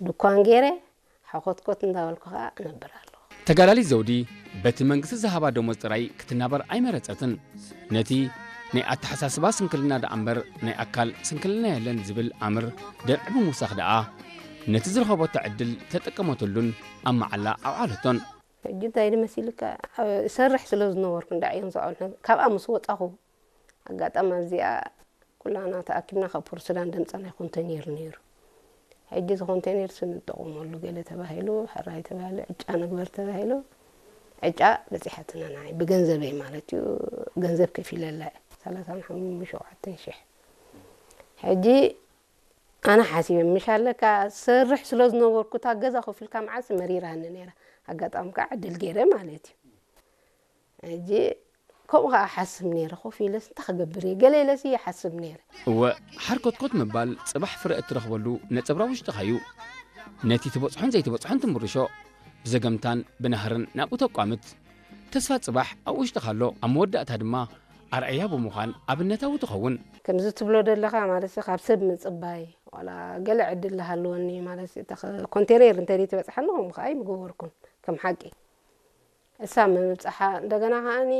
ድኳን ገይረ ሓኾትኮት እንዳበልኩ ከዓ እነብር ኣለኹ። ተጋዳሊት ዘውዲ በቲ መንግስቲ ዝሃባ ደሞዝ ጥራይ ክትናበር ኣይመረጸትን። ነቲ ናይ ኣተሓሳስባ ስንክልና ደኣ እምበር ናይ ኣካል ስንክልና የለን ዝብል ኣምር ደርዒ ብምውሳኽ ደኣ ነቲ ዝረኸበቶ ዕድል ተጠቀመትሉን ኣብ መዓላ ኣውዓለቶን። ሕጂ እንታይ ድመሲልካ? እሰርሕ ስለ ዝነበርኩ እንዳዕዮን ዝኣውል ካብኣ ምስ ወፃኹ ኣጋጣሚ ኣብዚኣ ኩላና ተኣኪብና ካብ ፖርት ሱዳን ደምፀናይ ኮንቴነር ነይሩ። ሕጂ እዚ ኮንቴነር ስንጠቐመሉ ገለ ተባሂሉ፣ ሕራይ ተባሂሉ፣ ዕጫ ንግበር ተባሂሉ፣ ዕጫ በፂሓትና ንዓይ ብገንዘበይ ማለት እዩ። ገንዘብ ከፊለላ እየ። ሰላሳን ሸውዓተን ሽሕ። ሕጂ ኣነ ሓሲበ ምሽ ኣለካ ሰርሕ ስለ ዝነበርኩ እታ ገዛ ኮፍ ኢልካ መዓስ መሪራኒ ነይራ። ኣጋጣሚ ከዓ ዕድል ገይረ ማለት እዩ። ሕጂ ከምኡ ከዓ ሓስብ ነይረ፣ ኮፍ ኢለስ እንታይ ክገብር እየ ገለ ኢለስ ይሓስብ ነይረ። እወ፣ ሓርኮትኮት ምባል ጽባሕ ፍረ እትረኽበሉ ነጸብራቕ ውሽጥኻ እዩ። ነቲ ትበጽሖን ዘይትበጽሖን ትምርሾ፣ ብዘገምታን ብናህርን ናብኡ ተቋምት። ተስፋ ጽባሕ ኣብ ውሽጥኻ ኣሎ፣ ኣብ መወዳእታ ድማ ኣርኣያ ብምዃን ኣብነታዊ ትኸውን። ከምዚ ትብሎ ዘለኻ ማለት ካብ ሰብ ምጽባይ ዋላ ገለ ዕድል ዝሃለወኒ ማለት ኮንቴነር እንተ ትበጽሓኒ ከምኡ ከዓ ኣይምገበርኩን ከም ሓቂ። እሳ ምብጻሓ እንደገና ከዓኒ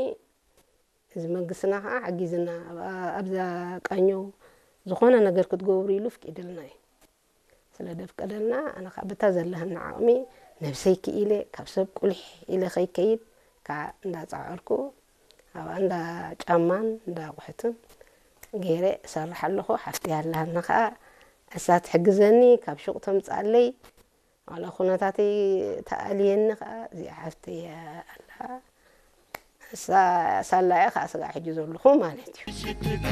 እዚ መንግስትና ከዓ ሓጊዝና ኣብዛ ቃኘው ዝኾነ ነገር ክትገብሩ ኢሉ ፍቂድልና እዩ። ስለ ደፍቀደልና ኣነ ከዓ በታ ዘለሃኒ ዓቕሚ ነብሰይ ክኢለ ካብ ሰብ ቁሊሕ ኢለ ከይከይድ ከዓ እንዳፃዕርኩ ኣብኣ እንዳ ጫማን እንዳ ኣቑሑትን ገይረ እሰርሕ ኣለኹ። ሓፍቲ ኣለሃኒ ከዓ እሳ ትሕግዘኒ ካብ ሹቕ ተምፅኣለይ። ዋላ ኩነታተይ ተኣልየኒ ከዓ እዚኣ ሓፍተይ ኣላ። እሳ ሳላ እያ ከዓ ስጋዕ ሕጂ ዘለኹ ማለት እዩ።